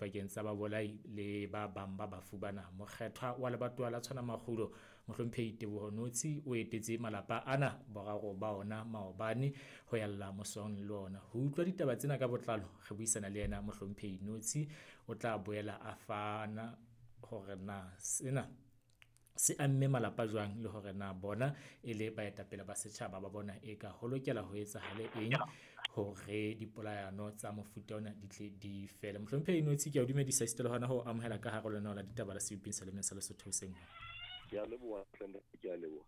dipakeng tsa babolai le ba bang ba bafu bana. Mokgethwa wa lebatowa la Tshwana Makgulo, Mohlomphehi Teboho Notsi, o etetse malapa ana boraro ba ona maobane ho yalla mosong le ona. Ho utlwa ditaba tsena ka botlalo, re buisana le yena Mohlomphehi Notsi, o tla boela a fana hore na sena se amme malapa jwang le hore na bona e le baetapele ba setjhaba ba bona eka ho lokela ho etsahale eng hore dipolayano tsa mofuta ona di tle di fele. Mohlomphehi Notsi, ke a o dumedisa esita le hona ho amohela ka hare ho lenaneo la ditaba la seboping sa lemeng sa Lesotho hoseng hona. Ke a leboha, ke a leboha.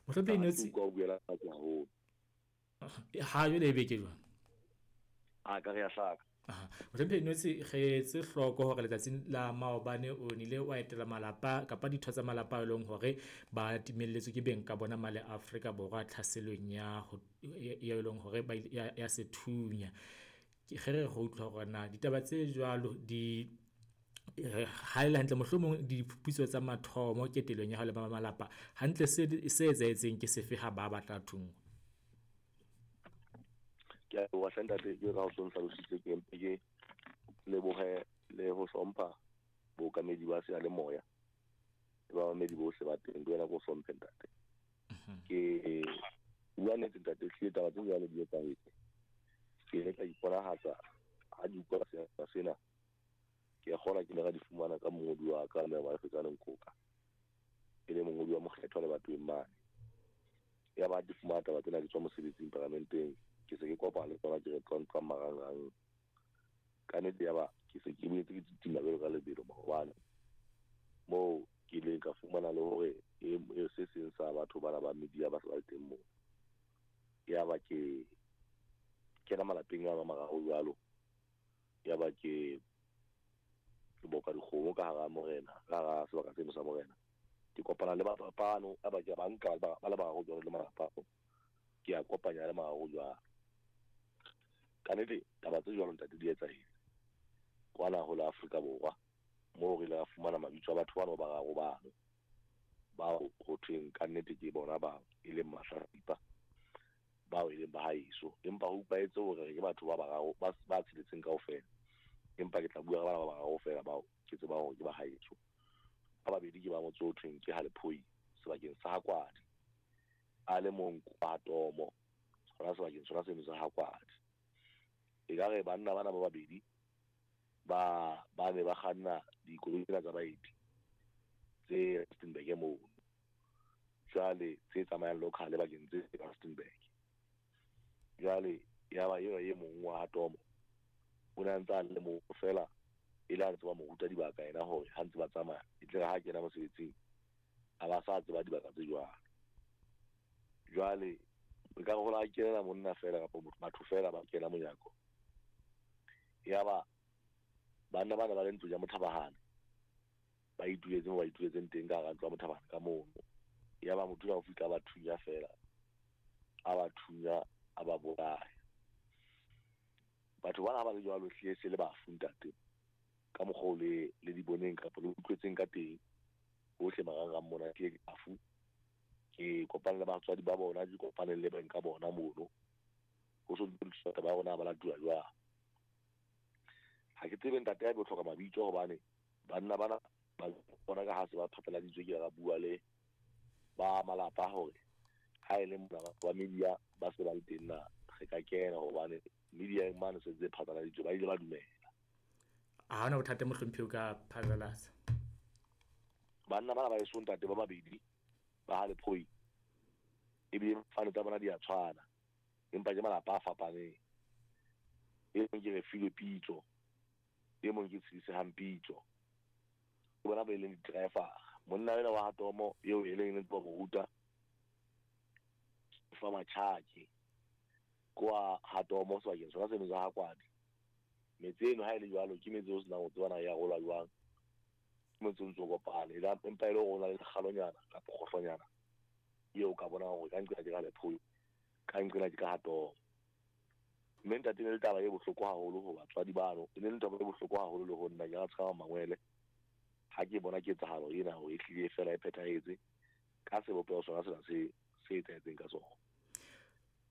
Mohlomphehi Notsi, Ka o buela fatshe haholo. Ha jwale e be ke jwang? A ka re ya hlaka. Mohlomphehi Notsi, re etse hloko hore letsatsing la maobane o nile wa etela malapa kapa ditho tsa malapa a leng hore ba timelletswe ke beng ka bona male Afrika Borwa tlhaselong ya ho e leng hore ba ya sethunya. Ke re re utlwa hore na ditaba tse jwalo di ha ele hantle, mohlomong diphuputso tsa mathomo ketelong ya hao le ba malapa hantle se se etsahetseng ke sefe ha ba batla thungwa? Ke a leboha hle ntate, ke ka o so nhlalositse, ke mpe ke lebohe le ho hlompha bookamedi ba seyalemoya le bamamedi bohle ba teng. Ke wena ke o hlomphe ntate. Ke bua nnete ntate, ehlile taba tse jwalo di etsahetse. Ke ile ka iponahatsa ha di utlwa sena, ke a kgolwa ke ile ka di fumana ka mongodi wa ka mme wa Fetsane Nkoka, e le mongodi wa mokgethwa lebatoweng mane. Ya ba di fumana taba tsena ke tswa mosebetsing paramenteng, ke se ke kopana le tsona ke re tlontlwa marangrang. Ka nnete ya ba ke se ke boetse ke titima jwalo ka lebelo maobane, moo ke ileng ka fumana le hore e se seng sa batho bana ba media ba se ba le teng moo. Ya ba ke kena malapeng a mararo jwalo, ya ba ke boka dikgomo ka hara morena, ka hara sebaka seno sa morena. Ke kopana le batho bano, ya ba ke ba nka ba le bararo jwalo le malapa ao, ke a kopanya le mararo jwalo. Ka nnete taba tse jwalo ntate di etsahetse kwana ho la Afrika Borwa, moo re ile ra fumana mabitso a batho bano ba bararo bano, bao ho thweng ka nnete ke bona ba e leng mahlatsipa, bao e leng ba haeso. Empa ho utlwahetse hore ke batho ba bararo ba tsheletseng kaofela, empa ke tla bua ka bana ba bararo feela bao ke tsebang hore ke ba haeso. Ba babedi ke ba motse o thweng ke Halephoi sebakeng sa Hakwadi, a le mong kwa Tomo hona sebakeng sona seno sa Hakwadi. Ekare banna bana ba babedi ba ne ba kganna dikoloi tsena tsa baeti tse Rustenburg mono, jwale tse tsamayang local bakeng tse Rustenburg. Jwale ya ba eo e mong wa Tomo o ne a ntse a le moo feela, e le a ntse ba mo ruta dibaka yena hore ha ntse ba tsamaya e tle re ha kena mosebetsing a ba sa tseba dibaka tse jwalo. Jwale e ka re ho la kenela monna feela kapa batho feela ba kena monyako, ya ba banna bana ba le ntlo ya Mothabahane ba ituletse moo ba ituletseng teng ka hara ntlo ya Mothabahane ka mono. Ya ba motho o fihla ba thunya feela, a ba thunya a ba bolaya. Batho bana ha ba le jwalo hlile se le bafu ntate, ka mokgwa o le di boneng kapa le utlwetseng ka teng hohle marangrang mona, ke bafu. Ke kopane le batswadi ba bona, ke kopane le beng ka bona mono, ho so ntse ba rona ba latuwa jwang. Ha ke tsebe ntate ya bo hloka mabitso, hobane banna bana ba bona ka ha se ba phatlaladitswe, ke ra bua le ba malapa hore ha e le mona ba media ba se ba le teng na re ka kena, hobane media e mane se ntse phatlaladitswe, ba ile ba dumela. Ha hona bothata mohlomphehi o ka phatlalatsa. Banna bana ba eso ntate ba babedi ba Halephoi, ebile fane tsa bona di a tshwana, empa ke malapa a fapaneng. E mong ke Refilwe Pitso, e mong ke Tshedisehang Pitso. Ke bona ba e leng di-driver. Monna ena wa Hatomo eo e leng ntse ba mo ruta fa matjhaki kwa Hatomo sebakeng sona seno sa Hakwadi. Metse eno ha e le jwalo ke metse o senang ho tsebana ya rolwa jwang, ke motse o ntso kopane, empa e le hore o na le lekgalonyana kapa kgohlonyana eo ka bonang hore ka nqena ke ka Lephoi, ka nqena ke ka Hatomo. Mme ntate, ne le taba e bohloko haholo ho batswadi bano, e ne le taba e bohloko haholo le ho nna, ke ra tshaba mangwele ha ke bona ketsahalo ena hore e hlile fela e phethahetse ka sebopeho sona sena se se etsahetseng ka sona.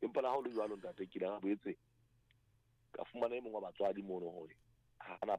Empa le ha ho le jwalo ntate, ke ile ka boetse ka fumana e mong wa batswadi mono hore ha ana